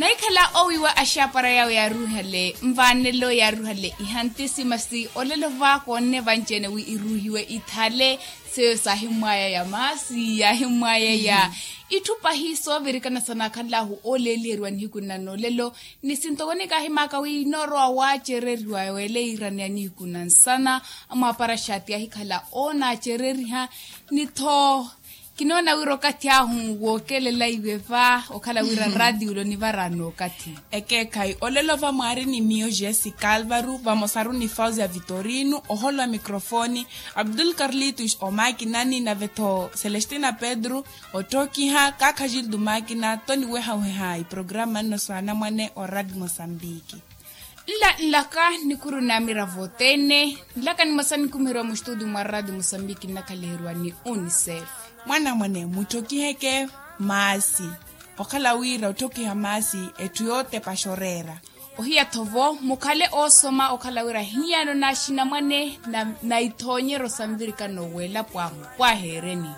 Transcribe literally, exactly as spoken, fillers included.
Nahikhala owiiwa axaapara yawe yaaruuhale nvaanelo yaaruuhale ihanti simasi olelo va koonne vanci-ene wi iruuhiwe ithale. Seyo saahimmwaya ya maasi yaahimmwaya ya itthu pahi soovirikana sanaakhanlahu ooleeliheriwa nihiku nna noolelo. Ni sintoko nikaahimaka wi noorowa waacereriwa weele iiraneya nihiku na nsana amwaapara xaati yaahikhala oonaacereriha. Ni-tho kinoona wira okathi ahu wookelela iwe va okhala wira raatiyo onivaraani okathi. Ekeekhayi olelo va mwaari ni miyo jessica alvaro vamosaru ni fausia vitorino oholo wa microfoni, abdul carlitos omaakinani nave-tho celestina pedro. Otthokiha kaakha jildo maakina toniwehaweha iprograma nno saanamwane oraati mosambiki. Nla nlaka nikuru naamiravo othene. Nlaka nimosa nikumiheriwa mustudio mwa radio mosambiki nnakhaliherwa ni unicef. Mwanamwane mutthokiheke maasi okhala wira otthokiha maasi etthu yootepa xoreera. Ohiya-tho vo mukhale oosoma okhala wira hiyano n'axinamwane na ithoonyeryo sa nvirikano w'elapo ahu pwaheereni.